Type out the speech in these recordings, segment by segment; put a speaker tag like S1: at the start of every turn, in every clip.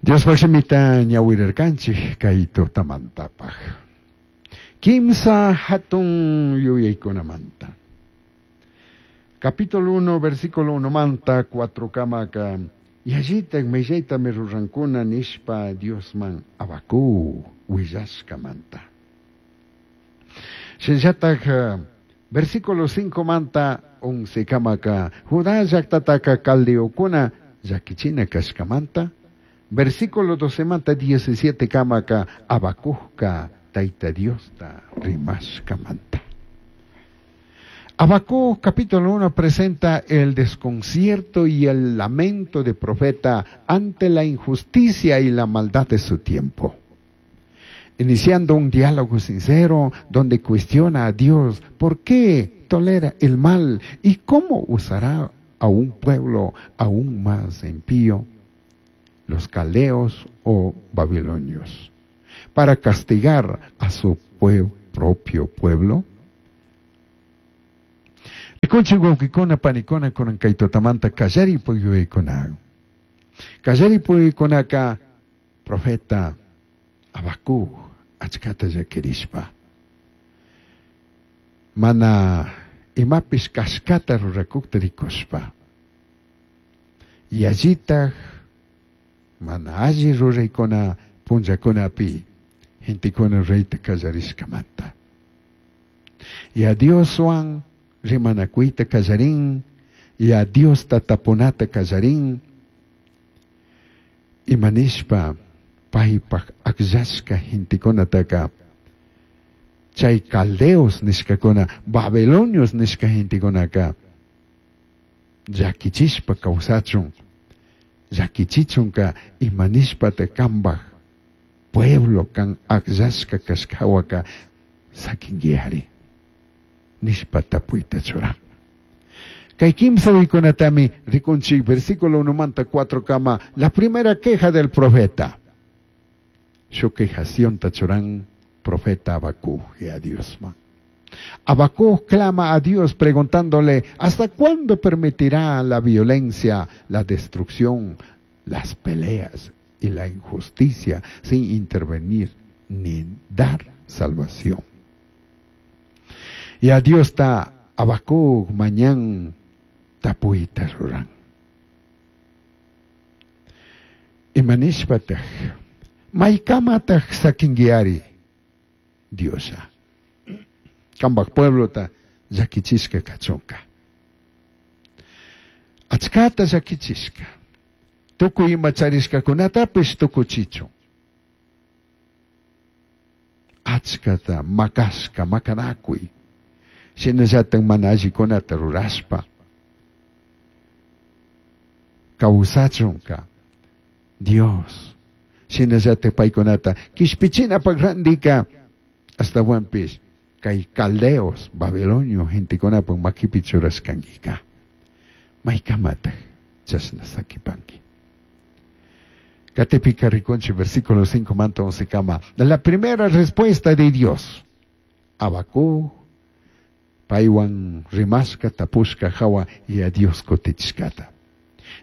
S1: Diospaj shimita ñahuirarcanchij cai tutamantapaj. Quimsa jatun yuyaicunamanta. Capítulo 1, versículo 1 manta 4 camaca yallitaj millaitami rurancuna nishpa Diosman Habacuc huillashcamanta. Shinallataj versículo 5 manta 11 camaca Judá llajtataca caldeocuna llaquichina cashcamanta. Versículo 12 manta 17 camaca Habacucca Taita Diosta rimashcamanta. Habacuc capítulo 1 presenta el desconcierto y el lamento de profeta ante la injusticia y la maldad de su tiempo. Iniciando un diálogo sincero donde cuestiona a Dios por qué tolera el mal y cómo usará a un pueblo aún más impío, los caldeos o babilonios, para castigar a su propio pueblo. Rikunchik wawqikuna panikuna kunan kay tutamanta kallari puyuykuna. Kallari puyuykunaka profeta Habacuc achkata llakirishpa mana imapish kashkata rurakukta rikushpa yallitaj mana alli ruraykuna punllakunapi gentekuna rurayta kallarishkamanta. Ya Dioswan rimanakuyta kallarin, ya Diosta tapunata kallarin, imanishpa paypaj akllashka gentekunataka chay caldeos nishkakuna, babilonios nishka gentekunaka llakichishpa kawsachun, llakichichunka imanishpata kambaj pueblo kan akllashka kashkawaka sakinguiari nishpa tapuyta churan. Kay kimsa uykunatami rikunchik versículo 1 manta 4 kama, la primera queja del profeta. Shuk quejacionta churan profeta Habacuc a Diosman. Habacuc clama a Dios preguntándole, ¿hasta cuándo permitirá la violencia, la destrucción, las peleas y la injusticia sin intervenir ni dar salvación? Y a Dios está Habacuc mañan tapuita ruran. Imanishpataj, maykamataj sakinguiari Diosa. Kambaj pueblota llakichishka kachunka. Achkata llakichishka. Tukuy ima charishkakunatapish tukuchichun. Achkata makashka, makanakuy. Shinallatak mana allikunata rurashpa kawsachunka Dios. Shinallatak paykunata kishpichinapak randika ashtawanpish kay caldeos, babilonio gentekunapak makipi churashkankika. Maykamataj chashna sakipanki. Katipika rikunchik versículo 5 manta 11 kama. La primera respuesta de Dios. Habacuc paywan rimashka tapushka hawa y a Dios kutichishkata.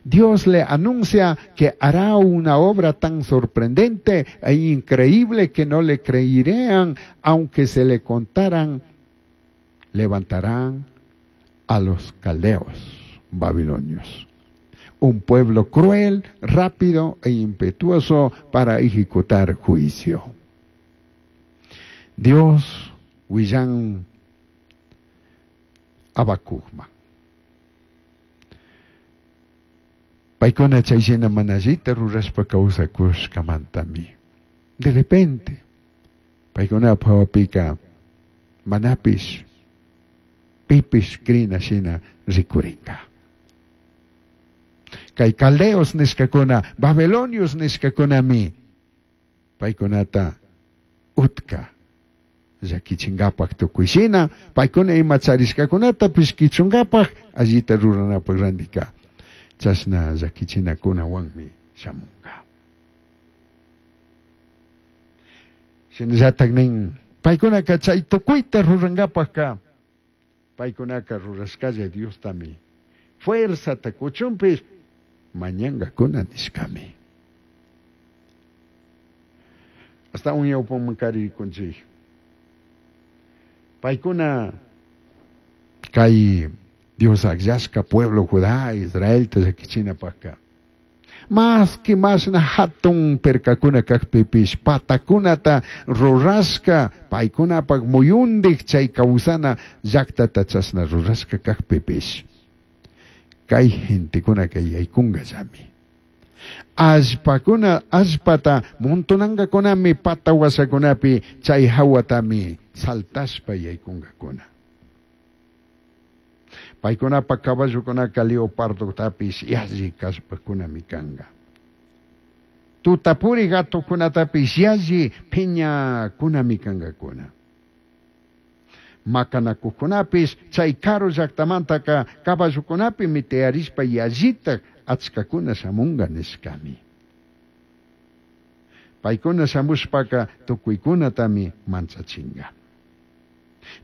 S1: Dios le anuncia que hará una obra tan sorprendente e increíble que no le creerían, aunque se le contaran, levantarán a los caldeos babilonios. Un pueblo cruel, rápido e impetuoso para ejecutar juicio. Dios, huillan Habacucman. Paykuna chay shina mana allita rurashpa kawsakushkamantami. De repente, paykunapaj hawapika manapish pipish crina shina rikurinka. Kay caldeos nishkakuna, babilonios nishkakunami paykunata utka llakichinkapak tukuy shina, paykuna ima charishkakunatapish kichunkapak allita ruranapak randika. Chashna llakichinakunawanmi shamunka. Shinallatak nin, paykunaka chay tukuyta rurankapakka, paykunaka rurashkalla Diostami fuerzata kuchunpish mañankakuna nishkami. Ashtahuan ñawpaman karikunchik. Paykuna kay Dios akllashka pueblo Judá, Israelta llakichinapakka. Maski mashna hatun perkakuna kakpipish patakunata rurashka paykunapak muyundik chay kawsana llaktata chashna rurashka kakpipish. Kay gentekunaka yaykunkallami. Allpakuna allpata montonankakunami pata washakunapi chay hawatami saltashpa yaykunkakuna. Paykunapa caballokunaka leopardotapish yalli kallpakunami kanka. Tutapuri gatokunatapish yalli piñakunami kankakuna. Makanakuqkunapish chay karu llaqtamantaka caballokunapimi tiyarishpa yallitak achkakuna shamunka nishkami. Paykuna shamushpaka tukuykunatami manchachinka.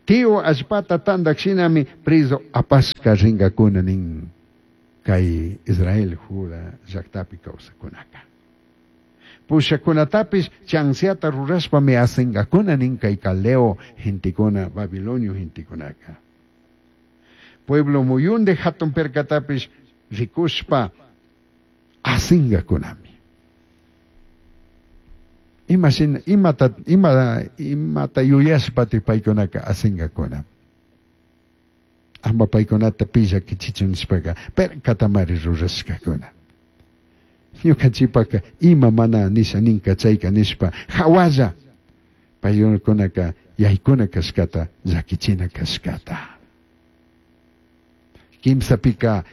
S1: Tío allpata tantak shinami preso apashka rinkakuna nin kay Israel Judá llaqtapi kawsakunaka. Pushakunatapish chansiata rurashpami asinkakuna nin kay Caldeo gentekuna, Babilonio gentekunaka. Pueblo muyunde hatun perkatapish rikushpa asinkakunami. Ima shina imata ima imata yuyashpati paykunaka asinkakuna. Ama paykunata pi llakichichun nishpaka perkatamari rurashkakuna. Ñukanchikpaka ima mana nisha ninka chayka nishpa hawalla paykunaka yaykuna kashkata llakichina kashkata. Kimsapika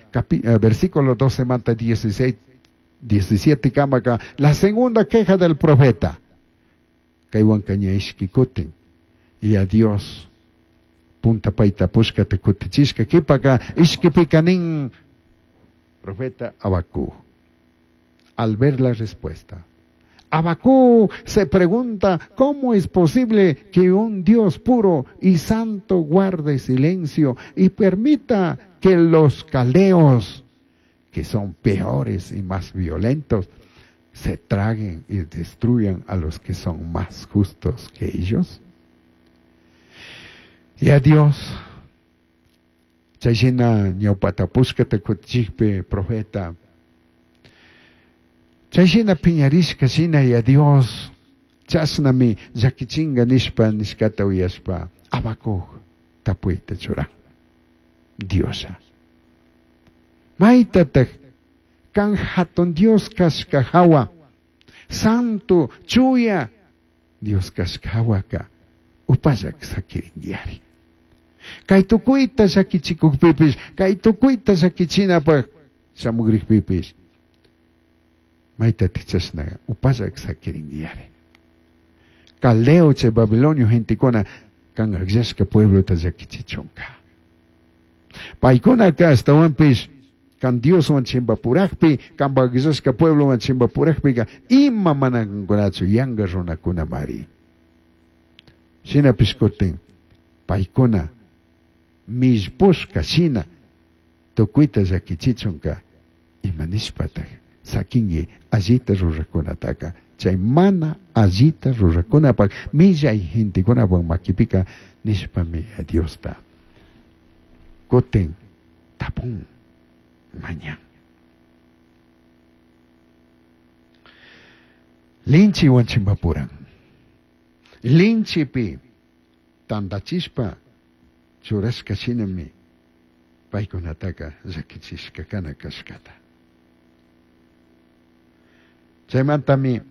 S1: versículo 12 manta 16 17 kamaka la segunda queja del profeta. Kaywanka ña ishki kutin y a Dios punta payta pushkata kutichishka kipaka ishkipika nin profeta Habacuc. Al ver la respuesta, Habacuc se pregunta cómo es posible que un Dios puro y santo guarde silencio y permita que los caldeos, que son peores y más violentos, se traguen y destruyan a los que son más justos que ellos. Y a Dios, chayshina ñawpata pushkata kutichikpi profeta, chayshina piñarishka shina y a Dios, chashnami llakichinga nishpa nishkata uyashpa Habacuc tapuyta churan. Diosa. Maytatak kan hatun Dios kashka hawa, santo chuya Dios kashka hawaka upallak sakirinkiari. Kay tukuyta llakichikukpipish, kay tukuyta llakichinapaq shamugrikpipish, maytatik chashna upallak sakirinkiari. Caldeo chay Babilonio gentekuna kan akllashka pueblota llakichichunka. Paykunaka ashtawanpish kan Dioswan chimpapurakpi, kan akllashka pueblowan chimpapurakpika ima mana kankunachu yanka runakunamari. Shinapish kutin paykuna millpushka shina tukuyta llakichichunka ima nishpatak sakinki allita rurakunataka chay mana allita rurakunapak millay gentekunapak makipika nishpami Diosta kutin tapun mañan. Linchiwan chimpapuran. Linchipi tantachishpa churashka shinami paykunataka llakichishka kana kashkata. Chaymantami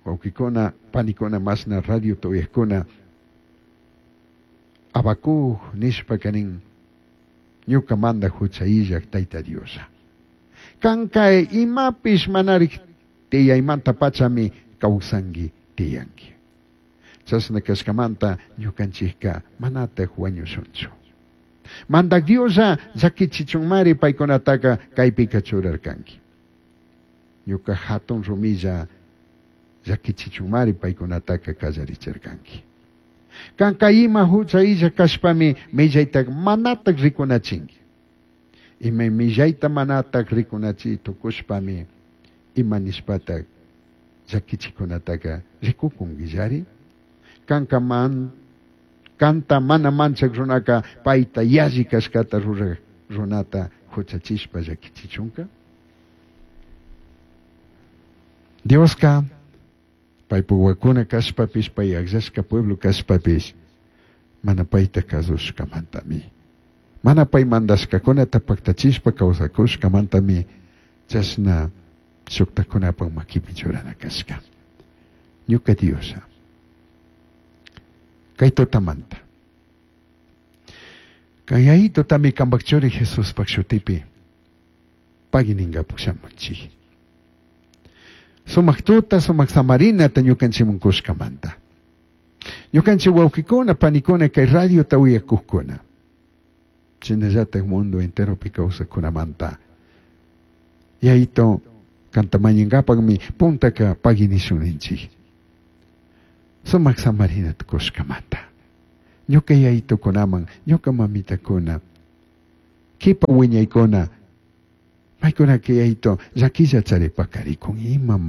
S1: wawkikuna, panikuna, mashna radio tuyakuna Habacuc nishpa nin ñuka manda hucha illak Tayta Diosa. Kanka imapish manarik tiyaymanta pachami kawsanki tiyanki. Chashna kashkamanta ñukanchikka manatak wañushunchu. Mandak Diosa llakichichunmari paykunataka kaypika churarkanki. Ñuka hatun rumilla llakichichunmari paykunataka kallarichirkanki. Kanka ima hucha illa kashpami millaytak manatak rikunachinki. Ima millayta manatak rikunachi tukushpami ima nishpatak Llakichikunataqa rikukunkillari? Kanka man kanta mana manchak runaka payta yalli kashkata ruraj runata huchachishpa llakichichunka? Dioska paypuk wawakuna kashpapish pay akllashka pueblo kashpapish mana payta kasushkamantami mana pay mandashkakunata paktachishpa kawsakushkamantami chashna shuktakunapak makipi churana kashka. Ñuka Dioslla kay tutamanta kay yayitutami kanpak churi Jesuspak shutipi pagui ninkapak shamunchik. Sumak tuta, sumak samarinata ñukanchikman kushkamanta. Ñukanchik wawqikuna, panikuna kay radiota uyakuqkuna. Shinallatak mundo enteropi kawsakkunamanta. Yayito kanta mañankapakmi puntaka pagui nishun ninchik. Sumak samarinata kushkamanta. Ñuka yayitukunaman, ñuka mamitakuna, kipa wiñaykuna, maykunaka yayito llakilla charipakarikun ima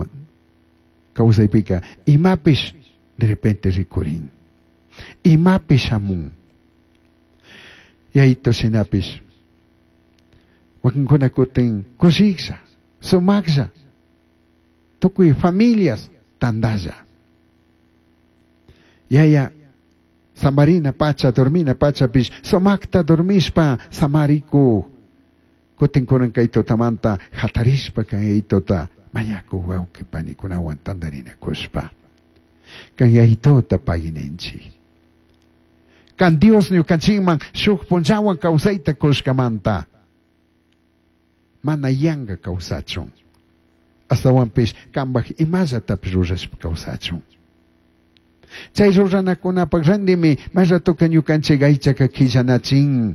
S1: kawsaypika imapish de repente rikurin. Imapish shamun. Yayito shinapish wakinkuna kutin kushiklla, sumaklla, tukuy familias tantalla. Yaya samarina pacha, dormina pachapish sumakta dormishpa samarikuk. Kutin kunan kay tutamanta hatarishpa kan yayituta mañakuk wawqi panikunawan tantarinakushpa. Kan yayituta pagui ninchik. Kan Dios ñukanchikman shuk punllawan kawsayta kushkamanta mana yanka kawsachun. Ashtawanpish kanpak imallatapish rurashpa kawsachun. Chay ruranakunapak randimi may ratoka ñukanchik aychaka killanachin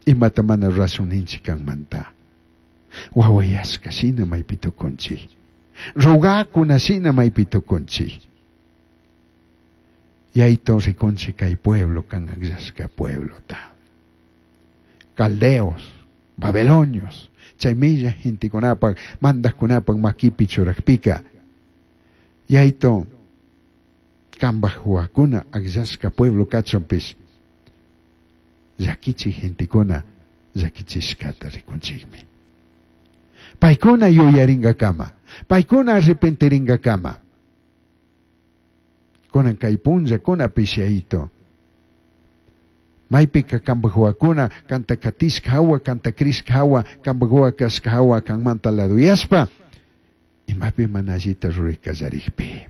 S1: imata mana rurashun ninchik kanmanta. Wawayashka shina maypi tukunchik. Rogakuna shina maypi tukunchik. Yayito rikunchik kay pueblo kan akllashka pueblota. Caldeos, babilonios, chay milla gentekunapak, mandajkunapak makipi churakpika. Yayito kanpak huwakuna akllashka pueblo kachunpish llakichik gentekuna llakichishkata rikunchikmi. Paykuna yuyarinkakama, paykuna arrepentirinkakama. Kunan kay punllakunapish yayito. Maypika kanpak huwakuna kanta katishka hawa, kanta crishka hawa, kanpak huwa kashka hawa kanmanta laduyashpa imapi mana allita ruray kallarikpi.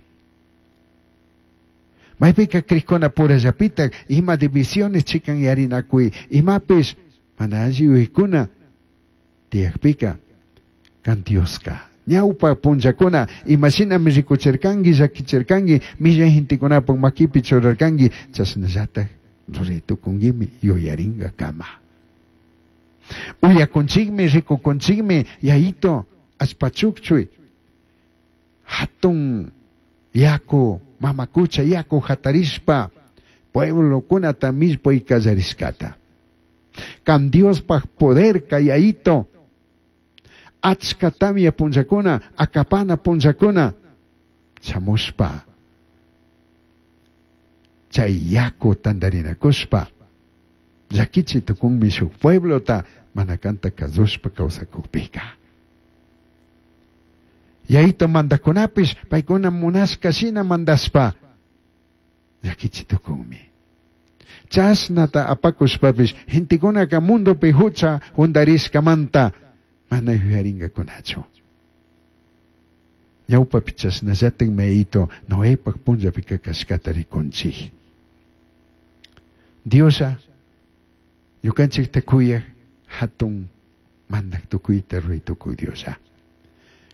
S1: Maypika crishkuna purallapitak ima divisiones chikan yarinakuy imapish mana alli yuyaykuna tiyakpika kan Dioska ñawpa punllakuna imashinami rikuchirkanki llakichirkanki millay gentekunapak makipi churarkanki chashnallatak ruray tukunkimi yuyarinkakama. Uyakunchikmi rikukunchikmi yayito allpachukchuy hatun yaku mamakucha yaku hatarishpa pueblokunata millpuy kallarishkata. Kan Diospaj poder kayayito achka tamya punllakuna akapana punllakuna shamushpa chay yaku tantarinakushpa llakichi tukunmi shuk pueblota mana kanta kasushpa kawsakukpika. Yayito mandakunapish paykuna munashka shina mandashpa llakichi tukunmi. Chashnata apakushpapish gentekunaka mundopi hucha hundarishkamanta mana yuyarinkakunachu. Ñawpapi chashnallatik mayito Noepak punllapika kashkata rikunchik. Dioslla ñukanchikta kuyak hatun mandak tukuyta ruray tukuy Dioslla.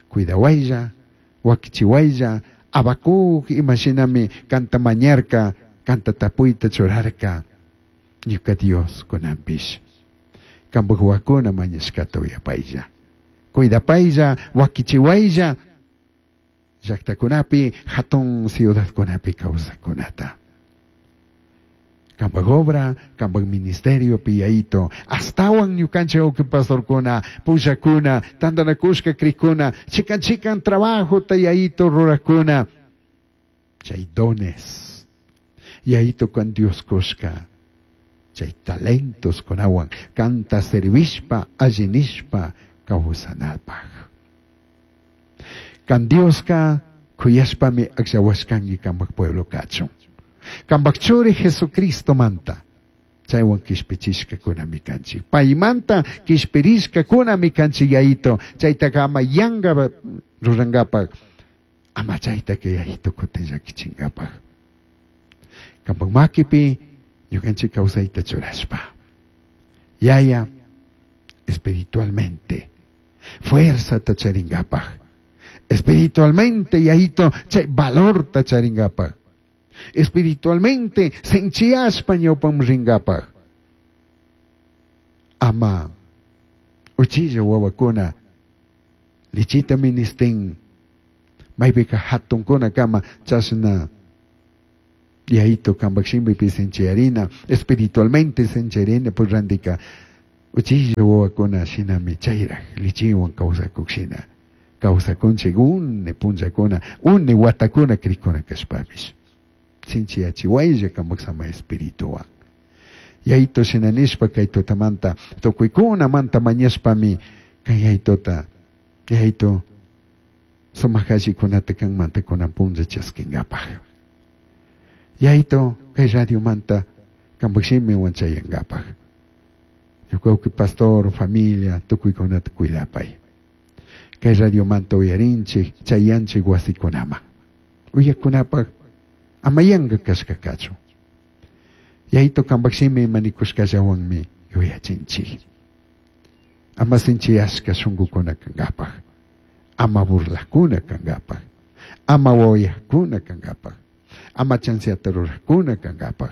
S1: Cuidawaylla, wakichiwaylla, Habacuc imashinami kanta mañarka, kanta tapuyta churarka, ñuka Dios kunanpish. Kanpak huwakuna mañashkata uyapaylla. Cuidapaylla, wakichiwaylla, llaktakunapi, hatun ciudadkunapi kawsakkunata. Kambaj obra, kambaj ministeriopi Yayito. Astawan ñukanchik wawqi pastorkuna, pushakuna, tantanakushka krikuna, chikan chikan trabajota Yayito rurakuna. Chay dones. Yayito kan Dios kushka. Chay talentos kunawan kanta servishpa, allinishpa kawsanapaj. Kan Dioska kuyashpami akllawashkanki kambaj pueblo kachun. Kambaj churi Jesucristo manta. Chaywan kishpichishkakunami kanchik. Paymanta kishpirishkakunami kanchik Yayito. Chaytaka ama yanka rurankapak. Ama chaytaka Yayito kutin llakichinkapaj. Kambaj makipi ñukanchik kawsayta churashpa. Yaya espiritualmente fuerzata charinkapaj. Espiritualmente Yayito chay valorta charinkapaj. Espiritualmente sinchiyashpa ñawpaman rinkapaj. Ama uchilla wawakuna lichita ministin maypika hatunkuna kama chashna Yayito kambaj shimipi sinchiyarina espiritualmente sinchiyarina pues randika uchilla wawakuna shinami chayraj lichiwan kawsakuk shina kawsakunchik une punllakuna une watakuna krikuna kashpapish sinchiyachiwaylla kambaj sama espirituwan. Yayito shina nishpa kay tutamanta tukuykunamanta mañashpami kay Yayitota Yayito sumak allikunata kanmanta kunan punlla chaskinkapaj. Yayito kay radiomanta kambaj shimiwan chayankapaj. Ñuka wawqi pastor, familia, tukuykunata cuidapay. Kay radiomanta uyarinchik, chayanchik wasikunaman. Uyakunapaj ama yanka kashka kachun. Yayito kambaj shimi manikushkallawanmi yuyachinchik. Ama sinchiyashka shunkukuna kankapaj. Ama burlakuna kankapaj. Ama wawayakuna kankapaj. Ama chanceata rurakuna kankapaj.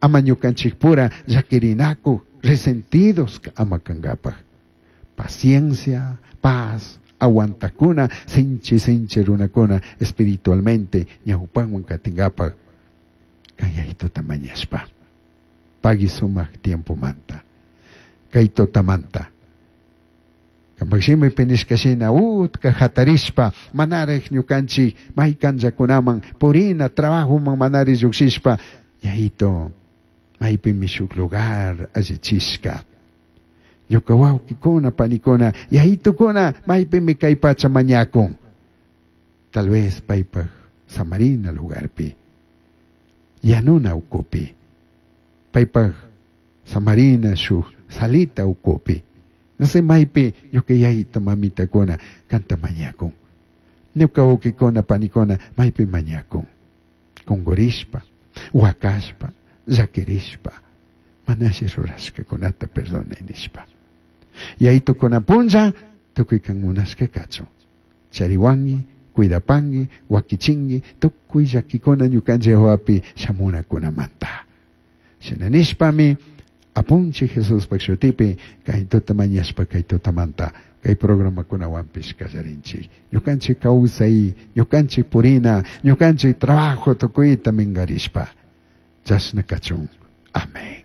S1: Ama ñukanchikpura llakirinaku resentidos ama kankapaj. Paciencia, paz, aguantakuna, sinchi sinchi runakuna espiritualmente ñawpanwan katinkapaj. Kay Yayitota mañashpa. Pagui sumak tiempo manta. Kay tutamanta. Kambaj shimipi nishka shina utka hatarishpa manaraj ñukanchik maykanllakunaman purina trabajoman manari llukshishpa Yayito maypimi shuk lugar allichishka. Ñuka wawkikuna panikuna Yayitukuna maypimi kay pacha mañakun. Tal vez paypaj samarina lugarpi. Yanuna ukupi. Paypaj samarina shuk salita ukupi. No sé maypi ñuka yayito mamitakuna kanta mañakun. Ñuka wawkikuna panikuna maypi mañakun. Kungurishpa, wakashpa, llakirishpa, manashi rurashkakunata perdonay nishpa. Yayito kunan punlla tukuy kan munashka kachun. Chariwanki, cuidapanki, wakichinki, tukuy llakikuna ñukanchik wawapi shamunakunamanta. Shina nishpami Apunchik Jesuspaj shutipi kay tuta mañashpa kay tutamanta kay programakunawanpish kallarinchik. Ñukanchik kawsay, ñukanchik purina, ñukanchik trabajo tukuyta minkarishpa. Chashna kachun. Amén.